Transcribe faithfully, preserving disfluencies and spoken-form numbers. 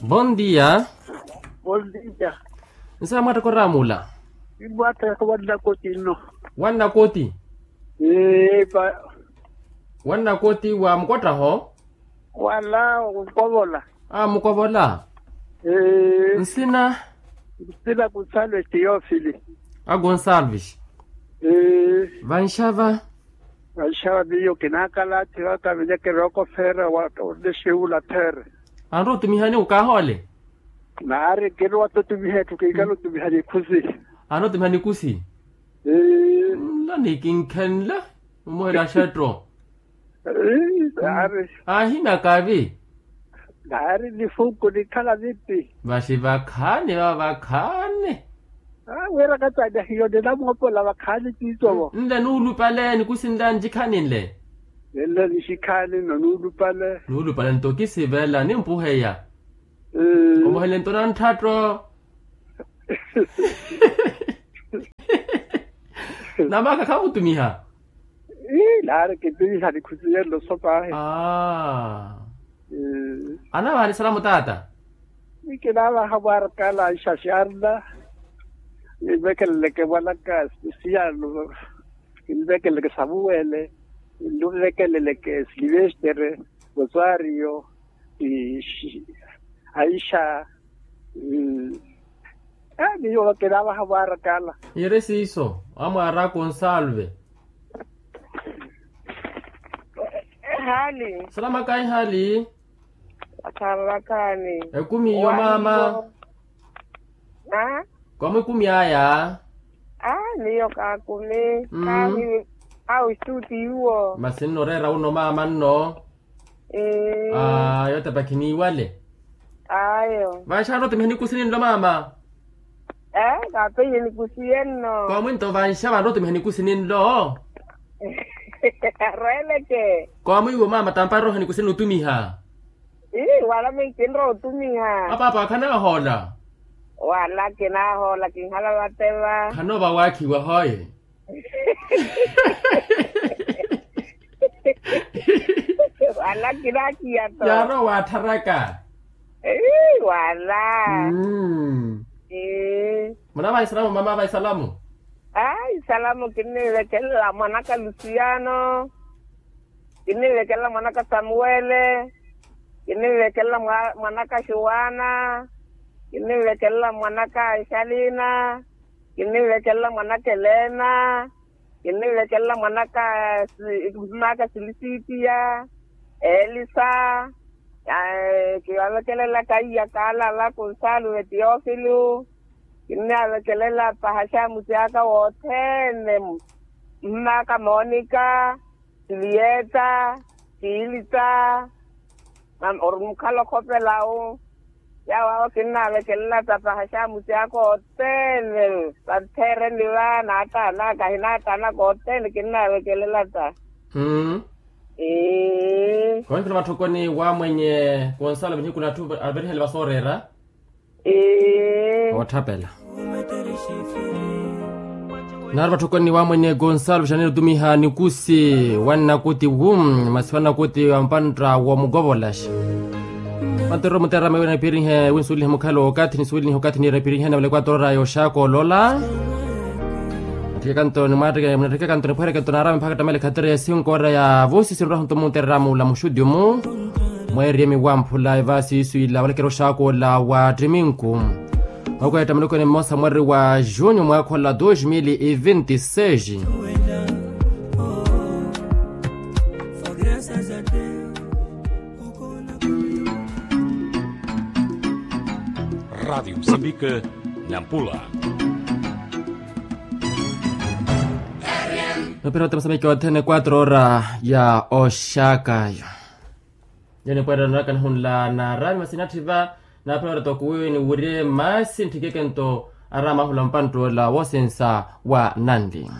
Bon dia. Bon dia. Nsa mwattakora mula? Imwattakora wannakoti nno. Wannakoti? Ee pa. Wannakoti wa mukottaho? Wala mukovola. A mukovola. Ee nsina? Nsina kunsalo etiofili. A gonsalvis. Ee vanxava. Vanxava miyo kinaakala ati vaka vinekere okofeera wa onexewula there. Anru otumihani okaahole? Naari kirowa totumiha etthu kiikala otumiha nikhusi. Anru otumiha nikusi. Nla nikinkhenle. Omuhela axetto. Naari. Aahimya kaavi. Naari nifunku nikhala vipi? Vaxi vakhaani vava vakhaani. Wira kattani ahiyo ninamoopola vakhaani tiitovo. Nle nuulupale nikusi nla nxikhaani nle. Nle nixikhaani nno nuulupale. Nuulupale nto kisivela nimpuheya. Omuhele nto nanthatto. Namaka khamutumiha. Ii naari kintuvihani khusiye nno sopahi. Anavaha ni salamu taata. Ni kinavaha mwaarakaala anxaxarna. Ninvekeleleke mwanaka siyano. Ninvekeleleke samuwele. Ninvekeleleke silivestere. Rosario. Aixa. Miyo kinavaha mwaarakaala. Iri siiso amwaaraka onsalve. Hali salamakaayi hali. Akhalavakhaani. Ekumi iyo maama. Kwamwi ekumi aya. Miyo kaakumi. Kaahi. Awo estuti iwo masi nno oreera uno maama nno. Ayo tapakhi niiwale. Ayo vanxavanru otumiha nikusi ninlo maama. Kaapeiye nikusi yenno. Koomwinto vanxa vanru otumiha nikusi ninlo. Arweleke. Koomwiiwo maama tamparoroha nikusi ninlo otumiha. Wala minkinrowa otumiha. Apaapa akhanahoola. Wala kinahoola kinhala vateva khanova waakhiwa hoye. Wala kinakiya to yaarowa waattharaka. Wala. Munavaha isalamu mama vaha isalamu. Ai isalamu kinnivekelela mwanaka lusiyano. Kinnivekelela mwanaka samuwele. Kinnivekelela mwanaka xuwana. Kinnivekelela mwanaka nxalina. Kinnivekelela mwanaka elena. Kinnivekelela mwanaka maka silisipiya. Elisa. Kivavekelela iya kaalala konsalu ve teofilo. Kinnavekelela pahaxamusi aka wothene. Maka monika. Siliyeta. Siilita. Ori mukhala okhopelawo. Yawo awo kinnavekelela tapaha xamusi aka othene vanttheereni va naataanaka ahinaataanaka othene kinnavekelela ta. Konkhela vatthokoni wa mwenye konsala vinhiku na atthu averihele vasooreera. Ootthapela. Naari vatthokoni wa mwenye konsala vixanene otumiha nikusi wannakuti wu masi wannakuti wa mpantta womukovolaxa. Vanterero muterama iwe napirihe winsuwelihe mukhalo okathi nisuwelihe okathi niire napirihe na vale kwatorora yoxaka olola. Natthike kanto nimwaatteke munatthike kanto nipwehereke nto naarama mpakha ttamele khatere ya sinkoora ya vosisi nroha nto muntererama ula muxuti omu. Mweeriyemi wamphula evaasi isu ila walekera oxaka ola wa ttiminku. Mwakwetta mulukuni mmosa mweri wa junho mwaakhola dos mil e vinte e seis. Rádio Moçambique, Nampula. Nopira ote mosamiki othene quatro hora ya oxakayo. Yo nipweerela nrakanihunla naarami masi natthi va. Naapira oreta okuwiwe niwirye masi ntthikeke nto arama ahula mpanttoola woosensa wa nanli.